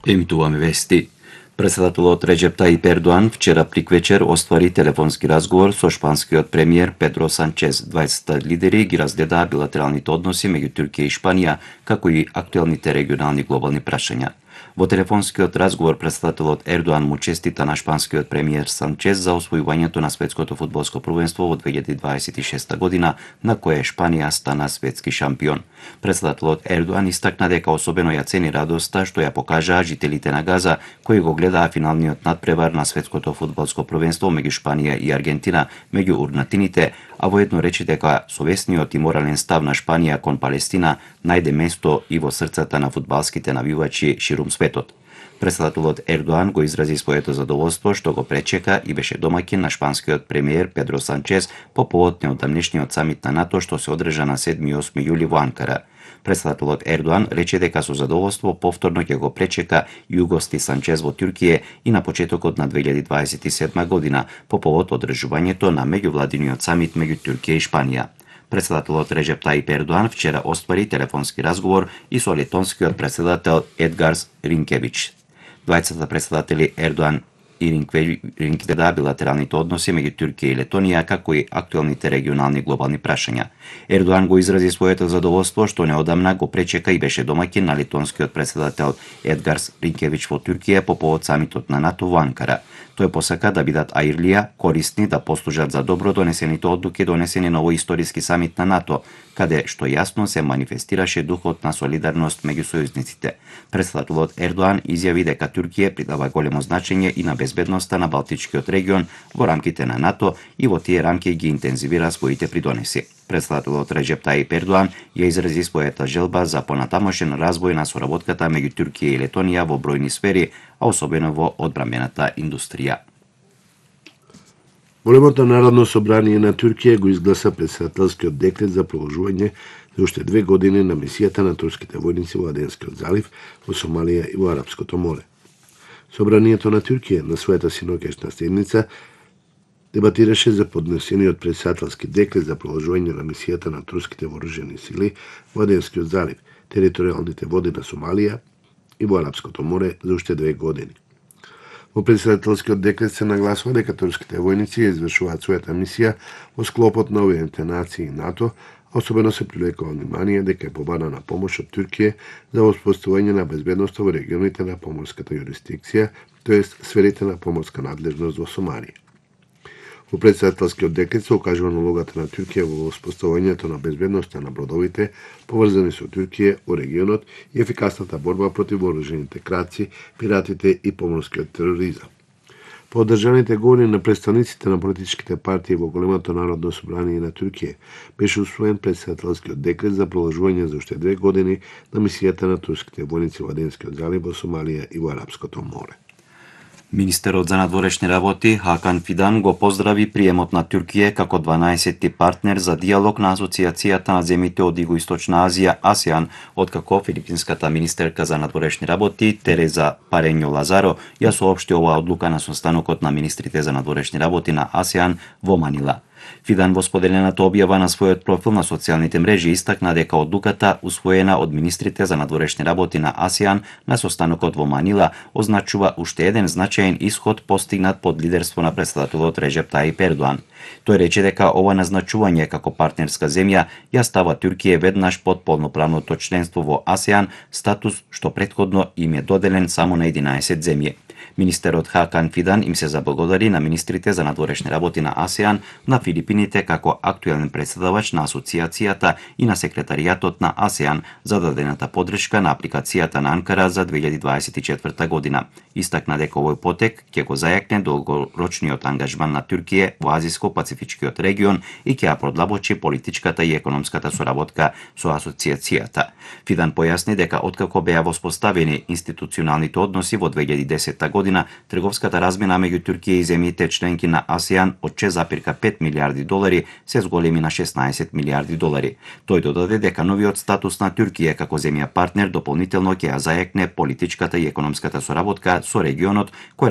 Емитуваме вести. Председателот Реджеп Таип Ердоан вчера приквечер оствари телефонски разговор со шпанскиот премиер Педро Санчез. 20 лидери ги разгледаа билатералните односи меѓу Туркија и Шпанија, како и актуелните регионални глобални прашања. Во телефонскиот разговор председателот Ердоан му честита на шпанскиот премиер Санчез за освојувањето на светското фудбалско првенство во 2026 година, на кое Шпанија стана светски шампион. Председателот Ердоан истакна дека особено ја цени радоста што ја покажаа жителите на Газа, кои го гледаа финалниот надпревар на светското фудбалско првенство меѓу Шпанија и Аргентина, меѓу урнатините, а воедно рече дека совесниот и морален став на Шпанија кон Палестина најде место и во срцата на фудбалските навивачи ширум светот. Председателот Ердоан го изрази своето задоволство што го пречека и беше домаќин на шпанскиот премиер Педро Санчез по повод неодамнешниот самит на НАТО што се одржа на 7 и 8 јули во Анкара. Председателот Ердоан рече дека со задоволство повторно ќе го пречека и угости Санчез во Туркија и на почетокот на 2027 година по повод одржувањето на меѓувладиниот самит меѓу Туркија и Шпанија. Председателот Реджеп Таип Ердоан вчера оствари телефонски разговор и со летонскиот председател Едгарс Ринкевич. Двајцата председатели Ердоан и Ринкевич билатералните односи меѓу Туркија и Летонија, како и актуелните регионални глобални прашања. Ердоан го изрази своето задоволство што неодамна го пречека и беше домаќин на летонскиот председател Едгарс Ринкевич во Туркија по повод самитот на НАТО во Анкара. Тој посака да бидат аирлија, корисни, да послужат за добро донесените одлуки донесени на овој историски самит на НАТО, каде што јасно се манифестираше духот на солидарност меѓу сојузниците. Председателот Ердоан изјави дека Туркија придава големо значење и на безбедноста на Балтичкиот регион во рамките на НАТО и во тие рамки ги интензивира своите придонеси. Председателот Реджеп Таип Ердоан ја изрази својата желба за понатамошен развој на соработката меѓу Туркија и Летонија во бројни сфери, а особено во одбрамбената индустрија. Големото народно собрание на Туркија го изгласа председателскиот декрет за продолжување за уште 2 години на мисијата на турските војници во Аденскиот залив, во Сомалија и во Арапското море. Собранието на Туркија на својата синоќешна седница дебатираше за поднесениот председателски декрет за продолжување на мисијата на турските вооружени сили во Аденскиот залив, територијалните води на Сомалија и во Арапското море за уште 2 години. Во председателскиот декрет се нагласува дека турските војници ја извршуваат својата мисија во склопот на Обединетите нации и НАТО, а особено се привлекува внимание дека е побарана помош од Туркија за воспоставување на безбедноста во регионите на поморската јурисдикција, тоест сферите на поморска надлежност во Сомалија. Во председателскиот декрет се укажува на улогата на Туркија во воспоставувањето на безбедноста на бродовите поврзани со Туркија во регионот и ефикасната борба против вооружените крадци, пиратите и поморскиот тероризам. По одржаните говори на представниците на политичките партии во големото народно собрание на Туркија беше усвоен председателскиот декрет за продолжување за уште 2 години на мисијата на турските војници во Аденскиот залив, во Сомалија и во Арапското море. Министерот за надворешни работи Хакан Фидан го поздрави приемот на Туркија како 12-ти партнер за диалог на Асоциацијата на земјите од Југоисточна Азија АСЕАН, откако филипинската министерка за надворешни работи Тереза Парењо Лазаро ја соопшти оваа одлука на состанокот на министрите за надворешни работи на АСЕАН во Манила. Фидан во споделената објава на својот профил на социјалните мрежи истакна дека одлуката усвоена од министрите за надворешни работи на АСЕАН на состанокот во Манила означува уште еден значаен исход постигнат под лидерство на председателот Реджеп Таип Ердоан. Тој рече дека ова назначување како партнерска земја ја става Туркија веднаш под полноправното членство во АСЕАН, статус што претходно им е доделен само на 11 земји. Министерот Хакан Фидан им се заблагодари на министрите за надворешни работи на АСЕАН, на Филипините како актуелен претседавач на асоциацијата и на секретаријатот на АСЕАН за дадената подршка на апликацијата на Анкара за 2024 година. Истакна дека овој потек ќе го зајакне долгорочниот ангажман на Туркија во Азиско-Пацифичкиот регион и ќе ја продлабочи политичката и економската соработка со асоциацијата. Фидан појасни дека откако беа воспоставени институционалните односи во 2010 година, трговската размена меѓу Туркија и земјите членки на АСЕАН од 6,5 милиарди долари се зголеми на 16 милиарди долари. Тој додаде дека новиот статус на Туркија како земја партнер дополнително ќе ја зајакне политичката и економската соработка со регионот, кој